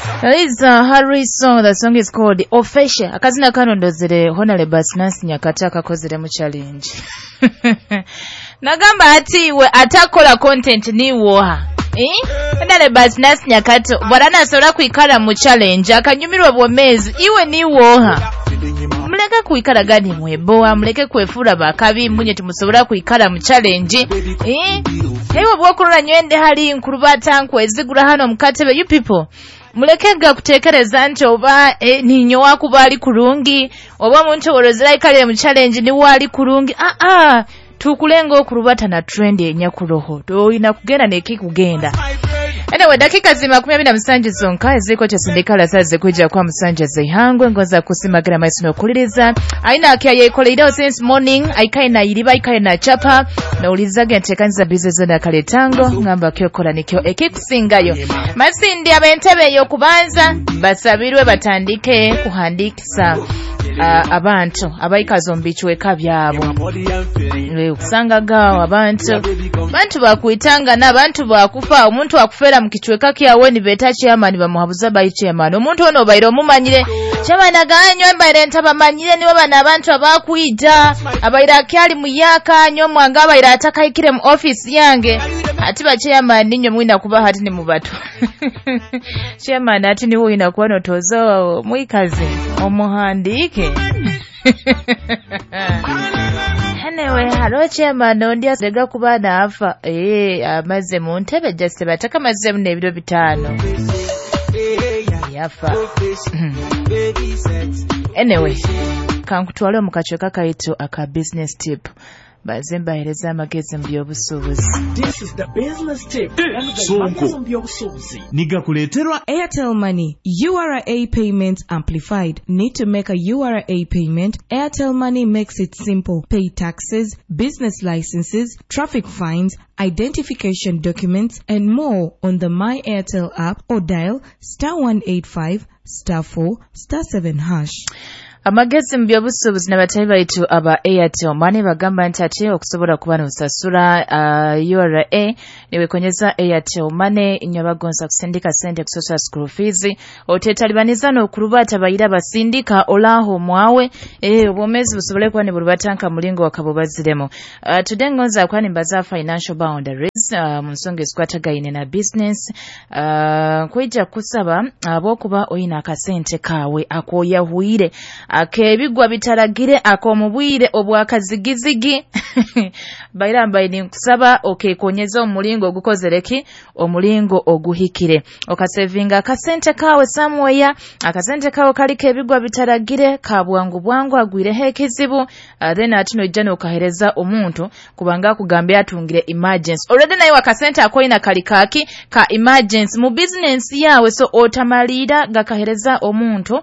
Is Harry song. The song is called Ofeshe. Akazina kano ndozere Honorable Nancy Nyakata akakozere mu challenge. Nagamba ati we atakola content ni woha. Eh? Honorable Nancy Nyakato bwarana asobola kwikara mu challenge akanyumirwa bwomezi iwe ni woha. Muleke kuikara gani mweboa, muleke kwefura bakabi munye tumusobola kuikara mu challenge. Eh? Hewe bwokurora nywende hali nkurubata nkwezigura hano mukatebe you people. Muleke kutekereza nti oba ninyo wakuba ali kurungi oba omuntu orozera ikalire mu challenge ni wali kurungi tukulenga okurubata na trend enyakuroho toyina kugenda nekikugenda. Anyway, dakika zima 27 zonka eziko kyasindikala saze kwijja kwa musanja zeihangwe ngoza kusimagira maiso nokuliriza aina akya yekoleireo since morning aikaye na iriba aikaye na chapa naulizaga ntekanyiza bize zona kaletango ngamba kyokola nikyo ekikusingayo masindi abentebe yokubanza basabirwe batandike kuhandikisa abantu abaikazo mbichweka byabo kusanga gawo abantu bakuitanga na abantu bakufa omuntu akufera mu kichweka kyawe ni beta chairman bamuhabuza bayi chairman omuntu ono bairo mumanyire chairman aganywa mbaire ntabamanyire niwe bana abantu abakuita abaira kyali muyaka nyo mwanga abaira atakaikire mu office yange ati ba chairman ninyo mwina kuba hati ni mubatu chairman ati niwe ina kuba notozo mwikazi omuhandike. Anyway, halo chairman ondi asega kuba naafa amaze mu ntebe just bataka maze mu ebiro 5 yafa. Anyway, kankutwale mu kachweka kaitu aka business tip. Bazemba hereza amagezi mu by'obusuubuzi. This is the business tip. Sonko nigakuleterwa Airtel Money URA payments amplified. Need to make a URA payment? Airtel Money makes it simple. Pay taxes, business licenses, traffic fines, identification documents and more on the My Airtel app or dial *185 *4 *7#. Amagezi mu by'obusuubuzi n'abatali baitu aba Airtel Money bagamba nti ate okusobola kuba n'osasula URA niwekonyeza Airtel Money inywa bagonza kusindika sente kusasula school fees otetalibaniza n'okurubata bayira basindika olaho mwawe obwomezi busobole kuba niburubatanka mulingo wakabubaziremu. Today ngonza kwani mbaza financial boundaries mu nsonga ezikwatagaine na business kwija kusaba abokuba oyina akasente kawe akoyahuire akebigwa bitaragire akomubwire obwakazigizigi baira mbaye nkusaba okekonyeza omulingo ogukozereki omulingo oguhikire okasevinga akasente kawe somewhere akasente kawe kaliko ebigwa bitaragire kabwangu bwangu agwireho ekizibu then atino ijana okahereza omuntu kubanga akugambye atungire emergency already naye akasente akoyina kalikaki ka emergency mu business yawe so otamalira gakahereza omuntu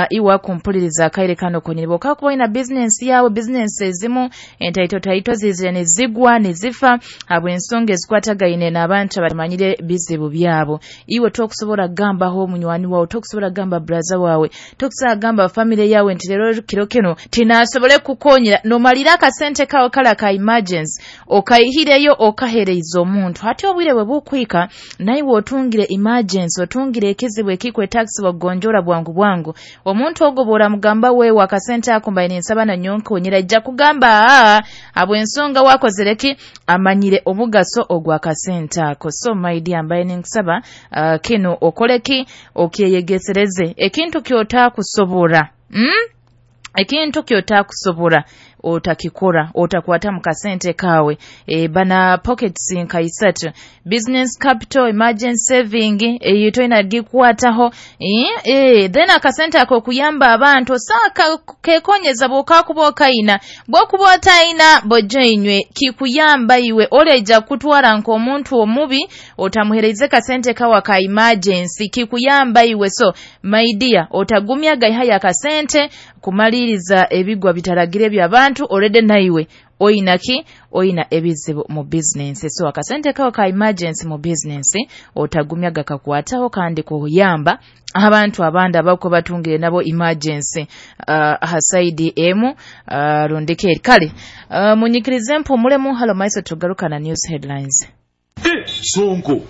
iwa kumpuliriza akaire kano konyini boka kuba ina business yawe business ezimu entaito taito zizire nezigwa nezifa abwe ensonga ezikwatagaine n'abantu abamanyire bizibu byabo iwe tokusobola gambaho munywani wawe tokusobola gamba brother wawe tokusobola gamba family yawe nti lero kiro kino tinasobole kukonyera nomalira akasente kawe kala ka emergency okayihireyo okahereiza omuntu hati obwire bwe bukwika naiwe otungire emergency otungire ekizibu ekikwe tax wagonjora bwangu bwangu omuntu ogobora mugamba wewe akasente ako mbaye nsaba na nyonko nyira ijja kugamba abwe ensonga wakozereki amanyire omugaso ogwa kasente ako. So my dear mbaye ninkusaba kino okoleki okyeyegesereze ekintu kyotakusobora ekintu kyotakusobora otakikora otakwata mu kasente kawe bana pockets nka isatu business capital emergency saving eyo toyina gikwataho then akasente ako kuyamba abantu saka kekonyeza bokakuba okaina bwokuba otaina bojoinywe kikuyamba iwe oleja kutwara nko omuntu omubi otamuhereze kasente kawa ka emergency kikuyamba iwe. So my dear otagumya gaiha kasente kumaliriza ebigwa bitaragire by'abantu already naiwe oyina ki oyina ebizibu mu business. So akasente kawo ka emergency mu business otagumya gakakwataho kandi kuyamba abantu abandi abako batungire nabo emergency hasaidi emu rundike kale munyikirize mpumulemu halo maiso tugaruka na news headlines. Sonko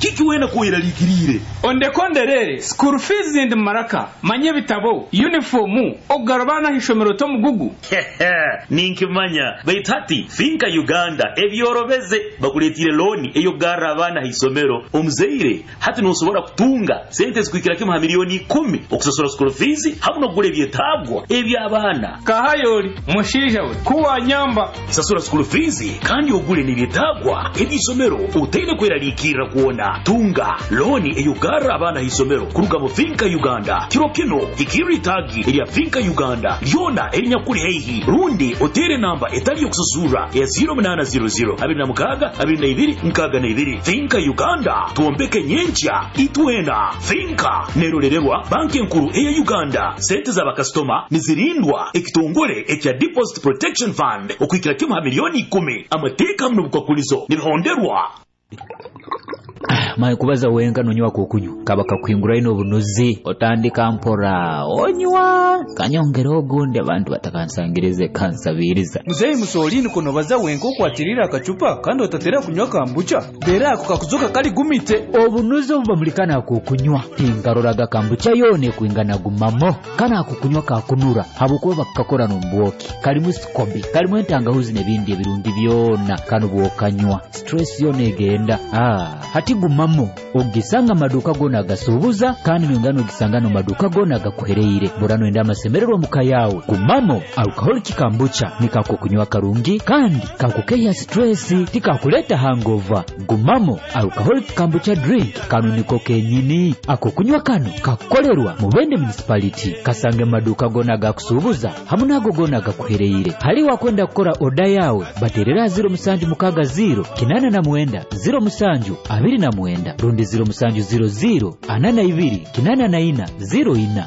Kiki wena kweraliikiriire? Ondekonderere school fees ndi maraka manye ebitabo uniform okugarabana ishomero tomugugu. Ninkimanya baitu hati Finka Uganda ebyorobeze bakuleetire looni ey'okugarra abaana ha isomero. Omuzaire hati nosobora kutunga sente ezikuhikira kimu ha milioni 10 okusasura school fees hamu n'okugura ebyetaagwa eby'abaana. Kahayoli mushaija we kuwanyamba. Sasura school fees kandi ogule n'ebyetaagwa eby'isomero otaine kweraliikirra kwona. Tunga looni ey'okugarra abaana ha isomero kuruga mu Finka Uganda. Kiro kino hikirra itaagi erya Finka Uganda lyona erinyakuli haihi rundi oteere namba etali y'okusasurra ya 0800 26 22 62. Finka Uganda, twombeke nyenkya itwena. Finka nerolererwa banki enkuru eya Uganda. Sente z'abakasitoma nizirindwa ekitongole ekya Deposit Protection Fund okuhikira kimu ha milioni 10. Amateeka hamu n'obukwakulizo nibihonderwa. Maye kubaza wenka nonywa kokunywa kaba kakuhingura ino obunuzi otandika mpora onywa kanyongera ogundi abantu batakansangirize kansabiriza. Muzeyi Musolini kuno baza wenka okwatirira akacupa kandi otatera kunywa kambucha dera ako kakuzuka kali gumite. Obunuzi obubamulikana kokunywa tinkaroraga kambucha yone kuingana gumamo kana akukunywa kakunura habukuba bakakora nombwoki kalimu sikobi kalimu entangahuzi n'ebindi ebirungi byona kano bwokanywa stress yone egenda. Hati gumamo ogisanga maduka gona agasubuza kandi nongano ogisanga no maduka gona agakuhereire burano enda amasemererwa muka yawe. Gumamo alcoholic kambucha nikako kunywa karungi kandi kakukeya stress tikakuleta hangover. Gumamo alcoholic kambucha drink kano niko kenyini ako kunywa kano kakukolerwa Mubende municipality kasange maduka gona agakusubuza hamu nago gona agakuhereire. Hali wakwenda kukora oda yawe baterera 0760 89 07 29 rundi 0700 42 84 04.